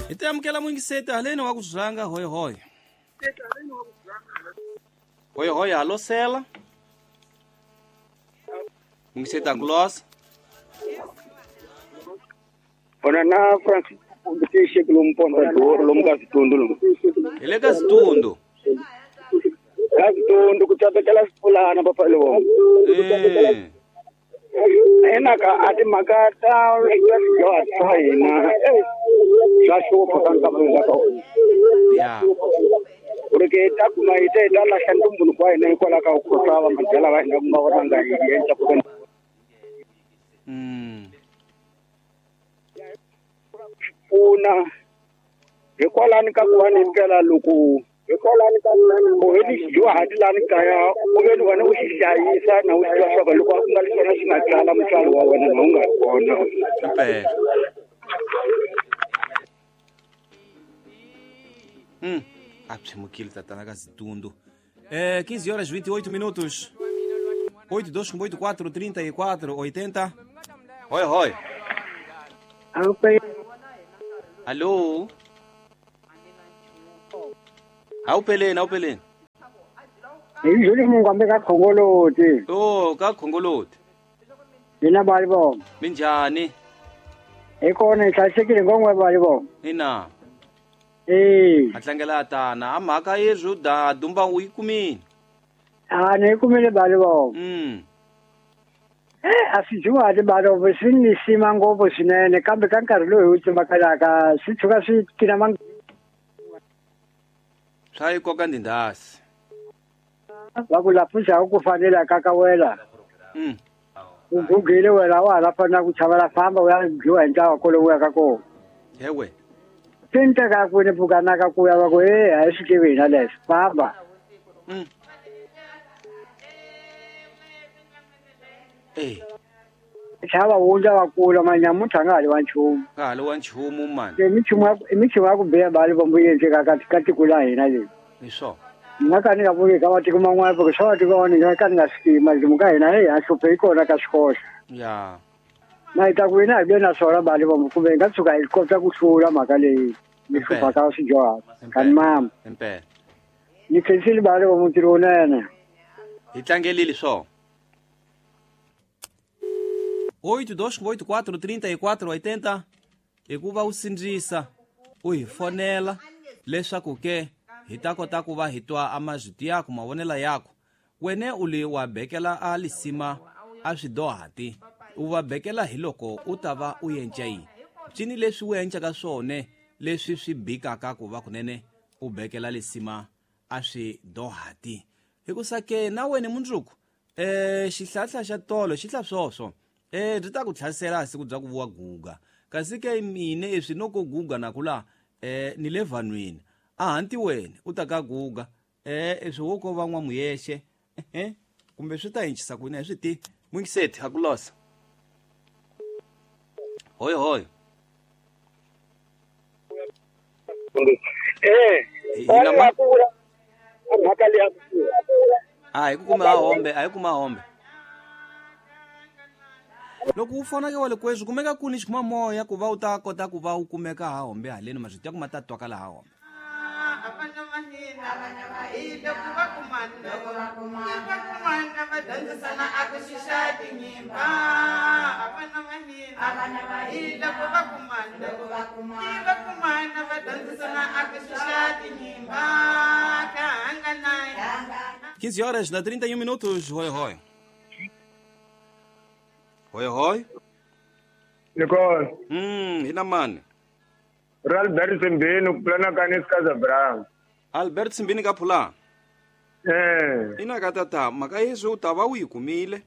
Hi ti amukela muyingiseti haleni wa ku zanga hoy hoy. Hoy hoy alo sela. Muyingiseti a ku losa. Ona na Francis Kumbitishe kulomponda doro lomkazitundu lo. Hi le ka Zitundu. Kazitundu kutsabekela sipulana papa lo. Eh. Ena ka ati makata ya tsaina. Swa hlupha ka nkarhi wa ka. Ya. Uri ta kuma ite ta lahla ntumbuluko wa hina hikwalaho ka ku khohlwa madyela va hina ku nga vona hi endla ku pfuna hikwalani ka ku va ni ndlela loko hikwalani ka ku heli xidyuhati lani kaya u ve ni wena u xi hlayisa na u tiva swa ku loko ku nga ri xona xi nga tsala mutswari wa wena na u nga ri kona. Impela. A pshimukile tatana ka Zitundu. 15 horas 28 minutos. 8 2 8 4 34 80. Hoi hoi. Alô. Awupheleni awupheleni. Hi Mungu ambe ka Khongoloti. Oh, ka Khongoloti. Mina bali bo. Minjhani? Hi kona hi hlayisekile ngongwe bali bo. Ina. Eh. A tlangela tana a mhaka yezwo da dumba u yi kumile. A ni kumile bali bo. A swi dyiwa bali bo swi ni sima ngopfu swinene kambe ka nkarhi lowu hi wu tsimakalaka swi tshuka swi tina mang swa yi koka ndindasi. Va ku la pfuxaka ku fanela ka ka wela. U gugile wena wa ha fanela ku chavela famba u ya dyiwa hi ntlawa kolowo ya ka kona. Hewe. Tinteka ku ni pfukanaka ku ya va ku a hi swi tivi hina leswi famba. Chava wundla va kula manyamuntlha a nga ha li wa nchumu. Nga ha li wa nchumu mani. I minchumu ya ku biha bali bombo yi endleka ka tiko la hina leyi. Hi swona. Ni nga ka ni nga vuki ka matiko man'wana porque swa matiko man'wana ni nga ka ni nga swi tivi matimu ka hina heyi a hluphe yi kona ka swikoxa. Ya. Na hi ta ku hina hi ve na swona bali bombo kumbe hi nga tshuka hi kota ku hlula mhaka leyi yi hluphaka swidyuhari. Ka ni mama. Impela. Ni khensile bali bombo ntirho wunene. Hi tlangelile swona. 8 2 8 4 34 80 hikuva u sindzisa u hi fonela leswaku ke hi ta kota ku va hi twa a mazwiti yaku mavonelo yaku wene u le wa bekela a lisima a swidohati u va bekela hi loko u ta va u yenca yini ncini leswi u yencaka swone leswi swi bikaka ku va kunene u bekela lisima a swidohati hikusa ke na wene mundzuku xihlahla xa tolo xi hla swoswo byi ta ku tlhasela siku bya ku vuwa guga kasi ke mine eswi noko guga na kula ni le vanhwini a hanti wena u ta ka guga eswi wo ko va n'wamuyexe kumbe swi ta hinchisa ku yini swi ti mwingiseti a ku losa. Hoy hoy. A hi ku kuma hombe a hi kuma hombe. Loko u fona ke wa le kweswi kumeka ku ni xikhuma moya ku va u ta kota ku va u kumeka ha hombe haleni mazwiti ya ku ma ta twakala ha hombe. Quinze horas da 31 minutos, hoi hoi. Hoi hoi. Nicole. Hina mani. Albert Simbini kupulana ka Casablanca. Albert Simbini ka phula. Ina ka tata mhaka yeswi u ta va u yi kumile.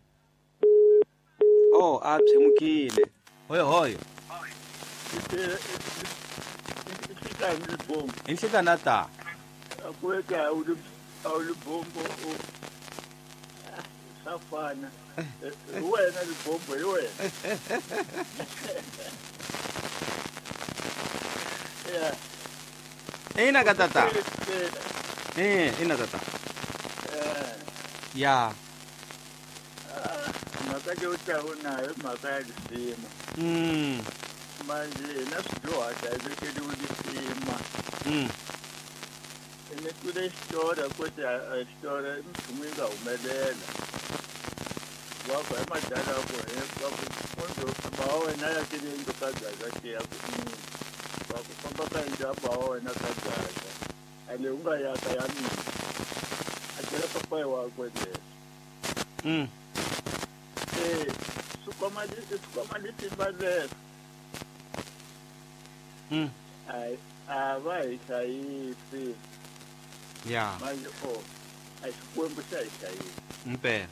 Oh, a pshemukile. Hoi hoi. Inhlekana ta. Akuweka awulibombo safana. Wena libombo hi wena. Yeah. Ina ka tata. Ina tata. Ya. Mhaka leyi u taku nayo mhaka ya lisima. Manje na swidyuhati a yi vekeriwi lisima. Ni twile xitori ku ti xitori nchumu yi nga humelela. Wa ku hi madala ku hi va ku munhu ba wa wena ya kile yindlu ka gaza ke ya ku va ku famba ka yindlu ya ba wa wena ka gaza a le u nga yaka ya mina a byela papayi wakwe leswo. Swi litimba leswo. A va hi hlayisi. Ya. Manje a Xikwembu xa hi hlayisa. Mpela.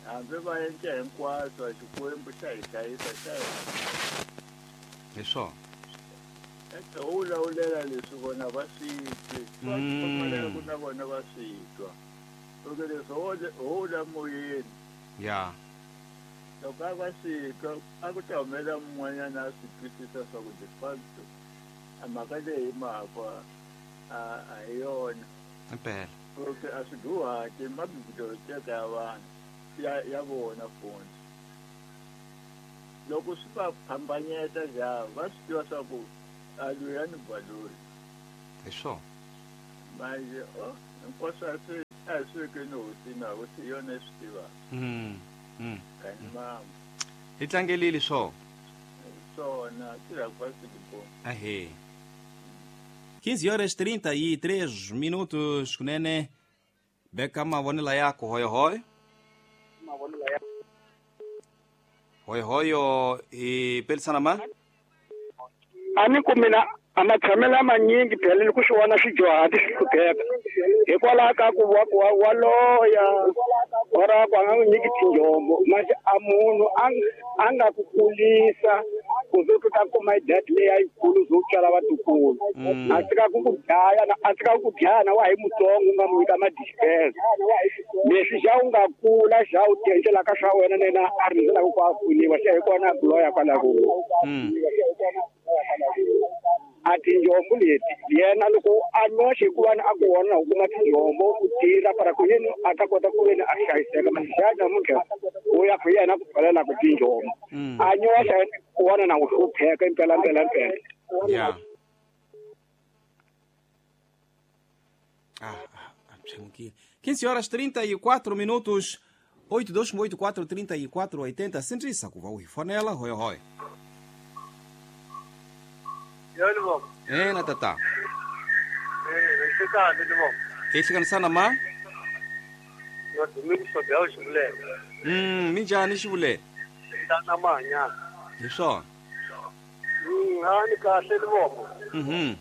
Hambi va endla hinkwaswo a Xikwembu xa hi hlayisa xa hi. Hi swona. Eka u lawulela leswi vona va swi twi. Va pfumelela ku na vona va swi twa. Loko leswi ho la moyeni. Ya. Loko a va swi twa a ku ta humela mun'wanyana a swi twisisa swa ku de facto a mhaka leyi hi mhaka a hi yona. Mpela. Okay, a swi duhati mabiblioteca ya vanhu ya vona fundi. Loko swi va phambanyeta ja va swi tiva swa ku a loyi a ni balori. Hi swona. Manje hinkwaswo a swi veke ni hosi na hosi hi yona yi swi tivaka. Kani mama. Hi tlangelile swona. Swona tirha kwasi bo. Ahee. 15 horas 33 minutos kunene beka mavonela yako hoyohoyo. Hoyohoyo i pelisana ma? Ani ku mina a matshamelo manyingi phela ni ku swi vona swidyuhati swi hlupheka hikwalaho ka ku wa loya ora ku a nga n'wi nyiki tinjombo manje a munhu a nga ku kulisa ku ze u ta kuma idadi leyi a yikulu ze u tswala vatukulu a tshika ku ku dlaya a tshika ku dlaya na wa hi mutsongo u nga n'wi nyika madispense leswi xa u nga kula xa u tiendlelaka swa wena na yena a rindzelaka ku a pfuniwa xa hi kona a ku loya kwalako. A tinjombo leti yena loko a nyoxe hikuva a ku vona u kuma tinjombo u tirha para ku yena a ta kota ku veni a hlayiseka manje namuntlha u ya ku yena ku pfalelaka tinjombo a nyoxa ku vona na ku hlupheka impela mpela mpela. Ya. Pshemukile. 15 horas 34 minutos. 8284 34 80. Sintrisa ku va u hi fonela hoyohoyo. Yebo. Na tata. Xikani ni vona. Hi hlanganisana ma? Yo Domingo Sobel Xivulele. Minjhani Xivulele? Tana mahanya. Hi swona. A ni kahle ni vona.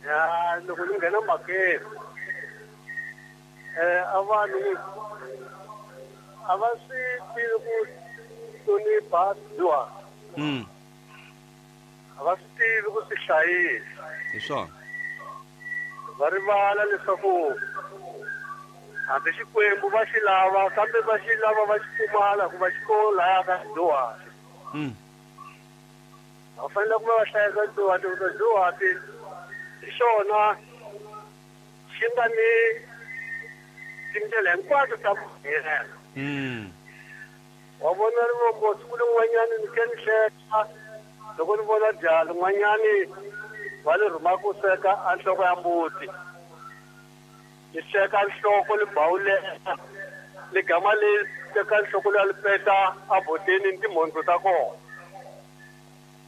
Ya loko ni nghena mhakeni. A vanhu a va swi tivi ku hlonipha dyuhari. A va swi tivi ku swi hlayisa. Hi swona. Va rivala leswaku hambi Xikwembu va xi lava kambe va xi lava va xi pfumala ku va xi kona laya ka dyuhari. Va fanele ku va va hlayisa dyuhati ku dyuhati hi xona xi nga ni tindlela hinkwato ta ku hela. Wa vona rivombo siku rin'wanyani ni ke ni hleka loko ni vona jaha rin'wanyani va le rhuma ku sweka a nhloko ya mbuti. Ni sweka nhloko ni bawulela ni gama le teka nhloko leyi li peta a boteni ni timhondzo ta kona.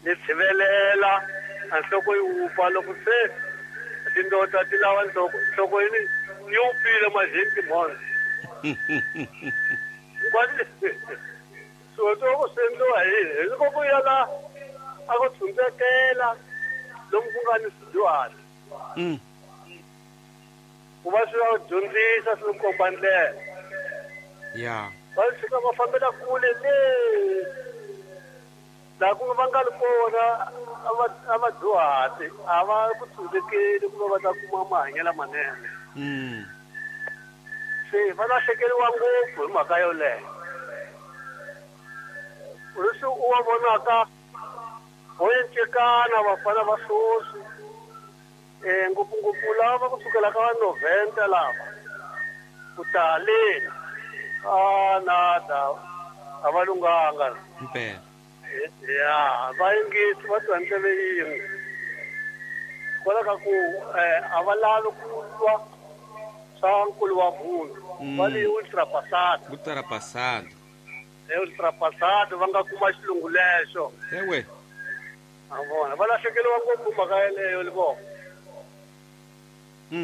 Ni tshivelela a nhloko yi wupfa loko se tindota ti lava nhloko nhloko yi yi wupfile majeni timhondzo. Swilo swo swi endliwa hi yini? Hi loko ku ya la a ku tshundzekela lomu ku nga ni swidyuhari. Ku va swi va dyondzisa swi komba ndlela. Ya. Va fika va fambela kule le laha ku va nga ri kona a va dyuhati a va ku tshundzekeli ku va va ta kuma mahanyelo lamanene. Se va lahlekeriwa ngopfu hi mhaka yoleyo. Leswi u va vonaka vo encekana vafana va sweswi ngopfungopfu lava va kusukela ka va 90 lava ku ta haleni a nada a va lunghanga. Mpela. Ya va yingisi va twa ndleve yin'we. Kwala mhaka ku a va lavi ku twa swa nkulu wa munhu. Va li ultrapassado. Ultrapassado. Ultrapassado va nga kuma xilungu lexo. Ewe. A vona va lahlekeriwa ngopfu mhaka yeleyo Livongo.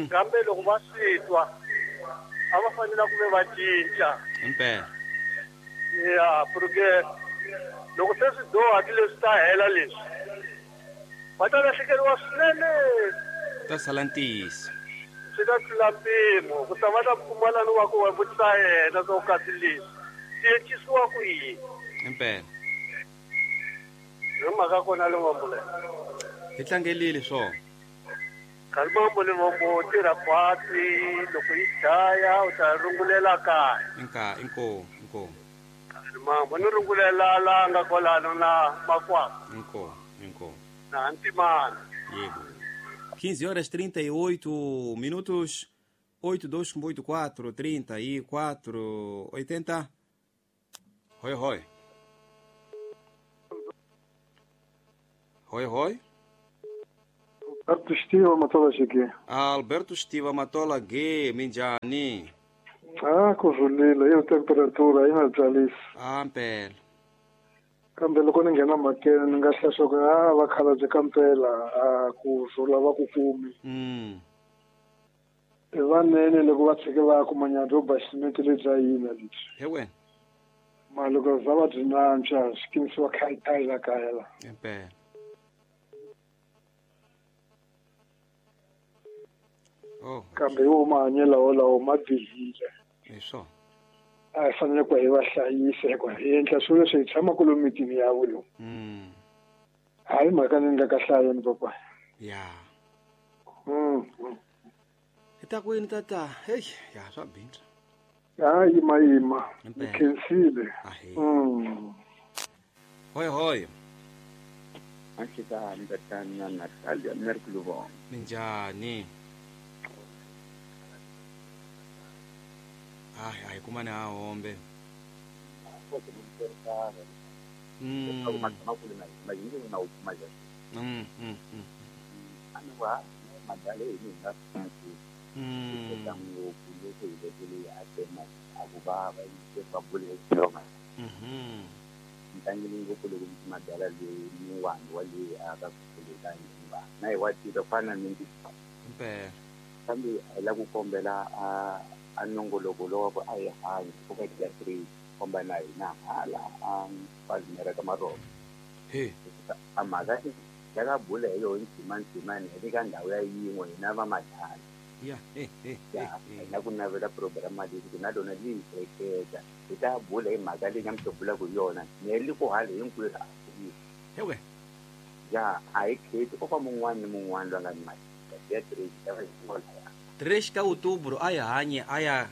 Kambe loko va swi twa a va fanele ku ve va cinca. Impela. Ya, porque loko se swi doha leswi ta hela leswi va ta lahlekeriwa swinene. Ta sala ntiyiso. Swi ta tlula mpimo ku ta va ta pfumala ni wa ku va vutisa yena swa ku kasi leswi swi encisiwa ku yini. Impela. Hi mhaka kona Livombo leyi. Hi tlangelile swona. Kalimambo Livombo tirha khwatsi loko yi dlaya u ta rungulela kaya. Inka inko inko. Kalimambo ni rungulela la nga kwalano na makwapa. Inko inko. Na Ntimana. Yebo. 15 horas 38 minutos. 8284 34 80. Hoi hoi. Hoi hoi. Alberto Stiva Matola G. Alberto Stiva Matola G, minjani? Ah, kuzulile, iyo temperatura ina byalisa. Ah, mpela. Kambe loko ni nghena makene ni nga hlaya a vakhalabye ka mpela a ku zula va ku kumi. I vanene loko va tshike va kuma nyandza yo ba ximete lebya yina lebyi. He wena. Ma loko za va byi nantswa swi kinisiwa khayitayi la kaya la. Impela. Oh. Kambe yo mahanyelo wolawo ma bihile. Hi swona. A hi fanele ku hi va hlayisa hikuva hi endla swilo leswi hi tshamaka lomu mitini ya vo lomu. Hayi mhaka ni nga ka hlayeni papa. Ya. Hi ta kwini tata? Hey, ya swa bindza. Ya yima yima. Ni khensile. Hoi hoi. Ashika ndatana Natalia Merkuluvon. Minjani? Ai, ai, kumane a hombe. Kambe la ku kombela a nongoloko lowa ku a hi hanyi ku ka ya 3 komba na hina hala a Palmera ka Maroko. He. A mhaka ya ka bula hi yo ndzima hi ka ndhawu ya yin'we hina va madala. Ya. Na ku navela program leyi ku na lona li hleketa hi ta bula hi mhaka leyi nga mi bulaka hi yona ne li ku hali hinkwerhu. He we. Ya a hi kheti ko fa mun'wana ni mun'wana loyi a nga ni mali. Ya 3 ya 3 ka outubro a ya hanye a ya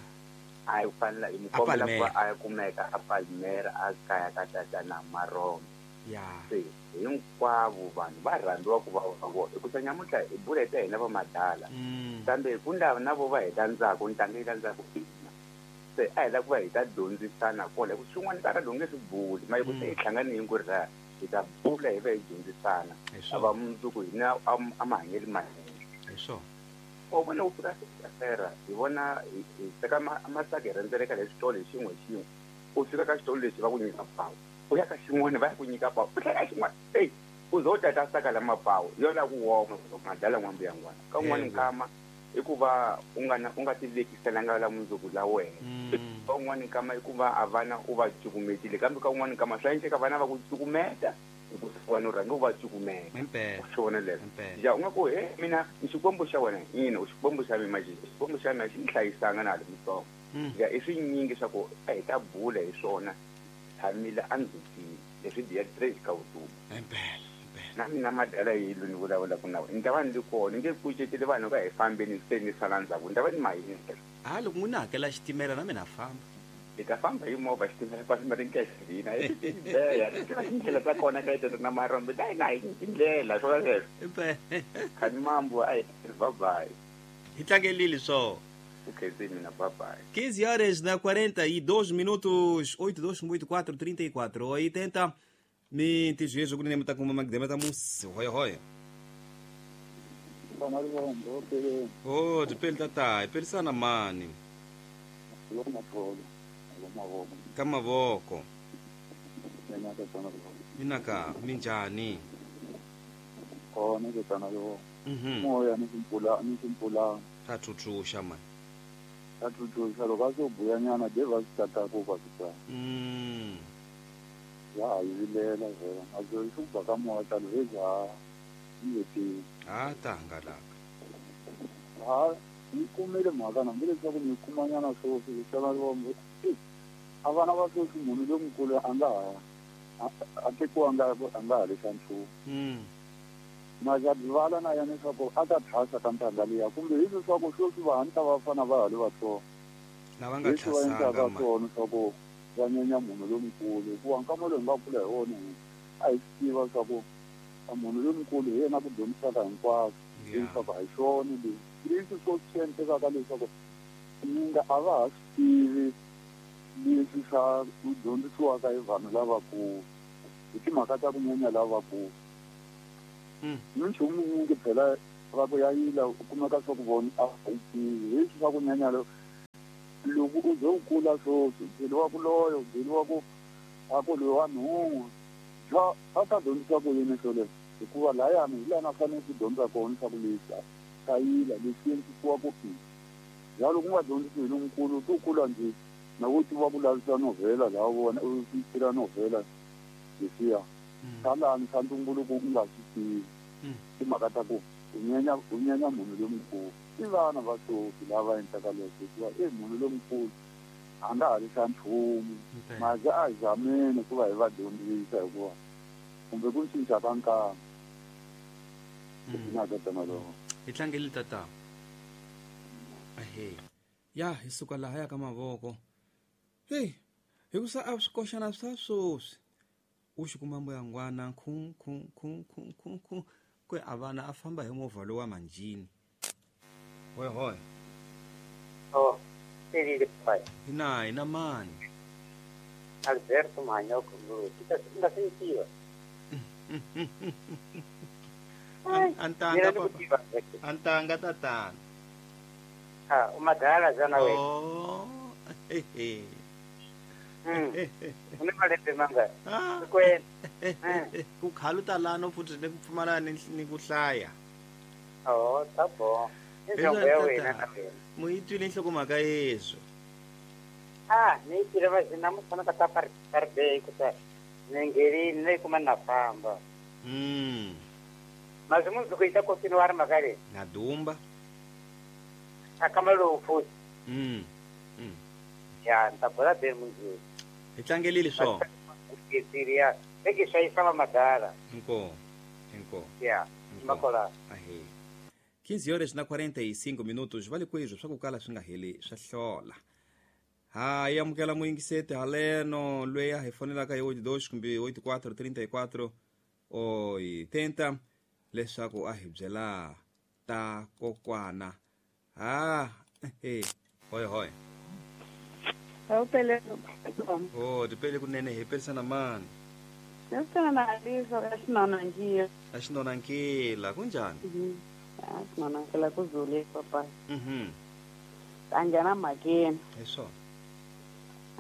a fanela hi mukombela ku a ya kumeka a Palmera a kaya ka tatana Marombe. Ya. Se hinkwavo vanhu va rhandziwa ku va vona hikusa nyamuntlha hi bula hi hina va madala. Kambe ku ndava na vo va hi landzaka ntanga yi landzaka hina. Se a hi lava ku va hi ta dyondzisana kona hi ku swin'wana nkarhi lowu nge swi buli ma ku se hi hlangane hinkwerhu laha hi ta bula hi va hi dyondzisana a va mundzuku hina a mahanyelo manene. Hi swona. U vona u fika fera hi vona hi teka masaka hi rhendzeleka le xitolo hi xin'we xin'we u fika ka xitolo lexi va ku nyika pawu u ya ka xin'wana va ya ku nyika pawu u tlhela xin'wana eyi u ze u tata saka la mapawu yo la ku woma madala n'wambu ya n'wana ka un'wana nkama i ku va u nga ti vekiselanga la mundzuku la wena ka un'wana nkama i ku va a vana u va cukumetile kambe ka un'wana nkama swa endleka vana va ku cukumeta wena u rhanga u va cukumeta swona leswo ya u nga ku he mina ni xikwembu xa wena ina u xikwembu xa mina xikwembu xa mina xi ni hlayisanga na ha ri mutsongo ya i swinyingi swa ku a hi ta bula hi swona tshamile a ndzhutini leswi biya 3 ka vutomi na mina madala yi lo ni vulavulaka na wena ni ta va ni ri kona ni nge kuceteli vanhu ka hi fambeni se ni sala ndzhaku ni ta va ni mahindza a loko n'wina hakela xitimela na mina famba hi ta famba hi movha xitimela Palmera nkexivina ya tindlela ta kona ka tata na Marombe ta hina hi tindlela swona leswo khani mambo a hi babayi hi tlangelile swo okay mina babayi 15 horas na 42 minutos 8284 34 80 mi tizvezvo kune mutakuma magidema ta musi hoyo hoyo. Oh, dipele tata, hi pelisana mani. Ka mavoko. Inaka minjani? Kona ke tsana yo. Moya ni simpula ni simpula. Ta tsutsusha man. Ta tsutsusha loko a so buyanyana de va swi tata ku va swi Ya a yi vilela vhela. A zwo swi ba ka moya ta lweza. Ni Ah, ta hangalaka. Ha, ni kumile mhaka na mbile leswaku ni kumanyana sweswi tsana lombe. A vana va sweswi munhu lonkulu a nga a tekiwa nga a nga ha lesa nchumu. Majadzivala na yena leswaku a ta thwasa ka ntanga liya kumbe hi leswaku sweswi va hanta va fana va ha ri vatsongo. Lava nga thwasanga ma. Swona leswaku va nyenya munhu lonkulu hikuva nkama lowu hi nga kula hi wona a hi swi tiva leswaku munhu lonkulu hi yena ku dyondzisaka hinkwaswo leswaku a hi swona leswi leswi swo swi endlekaka leswaku minga a va ha swi tivi leswi swa ku dyondzisiwaka hi vanhu lavakulu hi timhaka ta ku nyenya lavakulu. Minchumu wun'we phela va ku ya yila u kumeka swa ku vona a yi tivi leswi swa ku nyenya loko u ze u kula sweswi byeriwa ku loyo byeriwa ku a ku loyi wa nhungu bya a ta dyondzisa ku yini swo leswi hikuva layani hi lana fanele ku dyondza kona swa ku leswi ka yila leswi endlisiwa ku i ya loko u nga dyondzisi hi lonkulu to kula njhe na wo tiva ku lavisa novhela laha vona u tirha novhela leswiya salani swa ntumbuluko u nga swi tivi timhaka ta ku u nyenya munhu lonkulu i vana va sweswi lava endlaka leswi hikuva i munhu lonkulu a nga ha ri xa nchumu maze a hi zameni ku va hi va dyondzisa hikuva kumbe ku cinca ka nkarhi hi tlangeli tata. Ahe ya hi suka laha ya ka mavoko hey hikusa a swi koxana swa sweswi u xi kuma mbuyangwana khu khu khu khu khu khu ku a vana a famba hi movha lowa manjini. Hoi hoi. Oh, pelile pai. Ina ina mani. Alberto Manyoko nguru. Kita sentiwa. Antanga papa. Antanga tatana. Ha, umadala zana we. Oh. He. Une malembe manga. Kwen. Ku khaluta lano futhi ne ku pfumala ni ku hlaya. Oh, tá bom. Njongo ya wena na wena. Mu yi twile nhlokomhaka yeswo. Ah, ni tira va zina mu fana ka ta parbe ku ta. Nengeri ne kuma na famba. Mas munhu ku ita kotini wa ri mhaka leyi. Na dumba. Akamalo futhi. Ya, nta bola be munhu. Hi tlangelile swo. Ke eke xayisa va madala. Inko. Inko. Ya, makola. Ahe. 15 horas na 45 minutos vale kwezvo swa ku kala swi nga heli swa hlola. Ha amukela muyingiseti haleno loyi a hi fonelaka hi 82 kumbe 84 34 80 leswaku a hi byela ta kokwana. Ha he hoi hoi. Oh, dipele kunene hi pelisana mani. Nesana aliso asinonankila. Asinonankila kunjani? Asinonankila kuzule papa. Anjana makeni. Eso.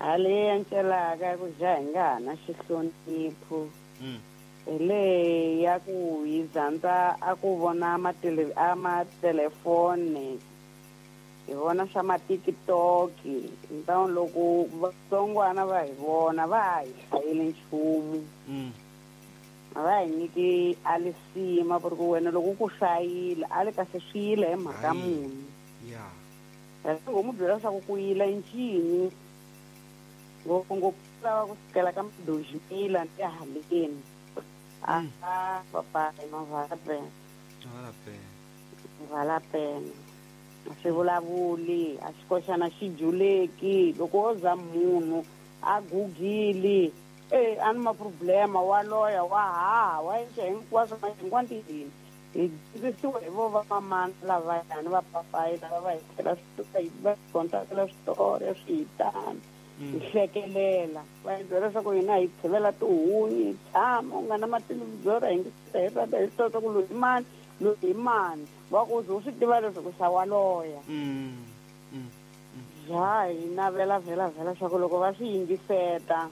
Ale antshelaka ku jaha na xihlonipho. Ele ya ku yizandza a ku vona amatelefoni. Hi vona swa ma-TikTok ntawu loko vatsongwana va hi vona va hi hlayile nchumu. A va hi nyiki a lisima ku ri ku wena loko ku hlayile a le kahle swi yile hi mhaka muni. Ngo mu byela leswaku ku yila ncini ngopfungopfu lava ku sukela ka madojimila ni haleni. A papa mavala pena. Mavala pena. A swi vulavuli a xi koxana xi juleki loko wo za munhu a gugile a ni ma-problema wa loya wa haha wa endla hinkwaswo hinkwantini hi dyondzisiwa hi vo va mamana lavayani va papayi lava va hi tlhela va dyondzakela switori swi hi tano hi hlekelela va hi byela leswaku hina hi tshivela tihunyi hi tshama u nga na mathelevhizora hi nge hi rata hi swi tiva ku loyi mani Loyi hi mani wa ku u swi tiva leswaku xa wa loya. Ja hi navela vhela vhela swa ku loko va swi yingiseta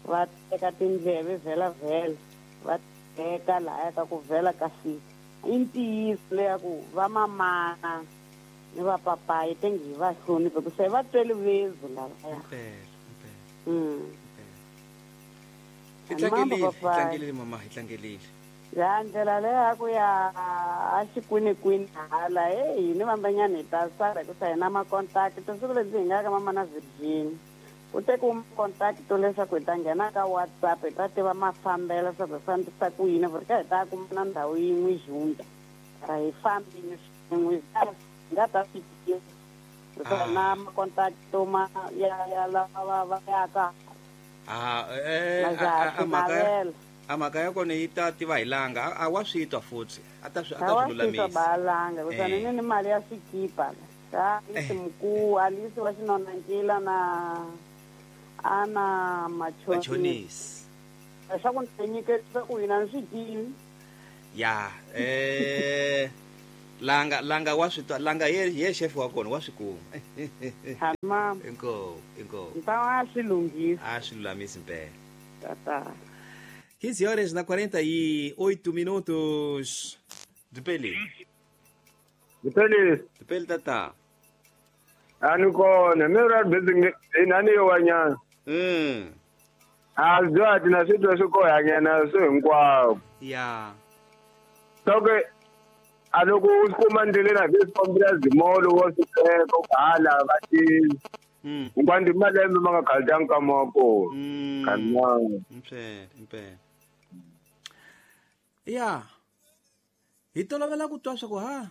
va teka tindleve vhela vhela va teka lahaya ka ku vhela kasi i ntiyiso leya ku va mamana ni va papayi tengi hi va hloniphe ku se va twele vezu lavaya. Hi tlangelile mama, hi tlangelile. Ya ndlela leyi ku ya a xikwinikwini hala hey ni vambanyana hi ta sala ku sa hina ma-contact siku lebyi hi nga ka mama na Virginia ku tekiwa ma-contact leswaku hi ta nghena ka WhatsApp hi ta tiva mafambelo leswaku hi fambisa ku yini ku ri ka hi ta kuma na ndhawu yin'we junda ra hi fambini swin'we hi nga ta swi tiva ku na ma-contact ma ya lava va yaka a mhaka ya kona yi ta tiva hi langa a wa swi twa futhi a ta swi lulamisa balanga kutani ni ni mali ya swikipa ka Alisi Alisi wa xinonankila na ana machonisi leswaku ni nyiketisa ku hina ni swi tivi ya langa langa wa swi twa langa ye chef wa kona wa swi kuma. Mama inko nta wa swi lunghisa a swi lulamisi mpela tata. 15 horas na 48 minutos. Dipeli. Dipeli. Dipeli tata. Ani kona, mera busy inani yo wanyana. A zwa tina swi swi ko hanyana swi hinkwako. Ya. Soke a loko u kuma ndlela na swi zimolo wo swi teka u hala va ti. Nkwandi malembe ma nga khaldanga ka mako. Kanwana. Mpela. Ya. Hi tolovela ku twa swa ku ha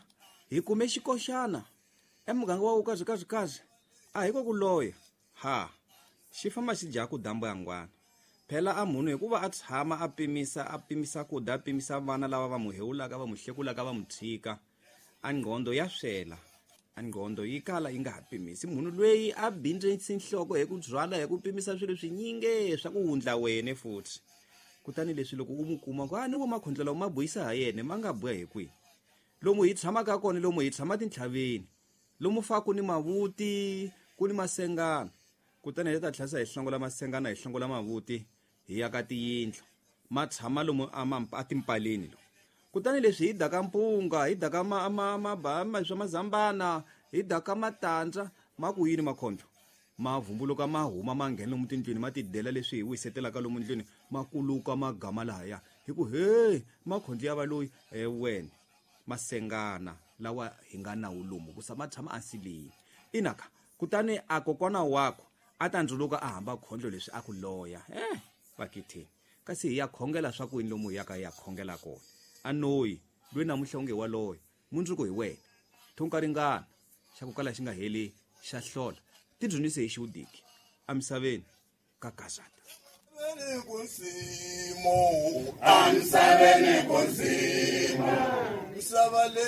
hi kume xikoxana emuganga wa kazi kazi kazi a hi ko ku loya ha xi famba xi dya ku dambo ya ngwana phela a munhu hikuva a tshama a pimisa ku da pimisa vana lava va mu hewulaka va mu hlekulaka va mu tshika a ngqondo ya swela a ngqondo yi kala yi nga ha pimisi munhu loyi a bindzisi nhloko hi ku byala hi ku pimisa swilo swinyingi swa ku wundla wene futhi kutani leswi loko u mu kuma ku a ni vo makhondlela ma buyisa ha yena ma nga buya hi kwihi lomu hi tshamaka kona lomu hi tshama tintlhaveni lomu fa ku ni mavuti ku ni masengana kutani hi ta tlhasa hi hlongola masengana hi hlongola mavuti hi ya ka tiyindlu ma tshama lomu a timpaleni lo kutani leswi hi daka mpunga hi daka swa mazambana hi daka matandza ma ku yini makhondlo ma vumbuluka ma huma ma nghena lomu tindlwini ma tidela leswi hi wisetelaka lomu ndlwini ma kuluka ma gama lahaya hi ku he makhondlo ya va loyi wena masengana lawa hi nga nawu lomu ku sama tshama ansileni inaka kutani a kokwana wako a ta ndzuluka a hamba khondlo leswi a ku loya vakitheni kasi hi ya khongela swa ku yini lomu hi yaka hi ya khongela kona a noyi loyi namuntlha unge wa loya mundzuku hi wena thunka ringana xa ku kala xi nga heli xa hlola tidzunise hi xiwudiki emisaveni ka gazata. Misaveni ku ndzima, misava leyi.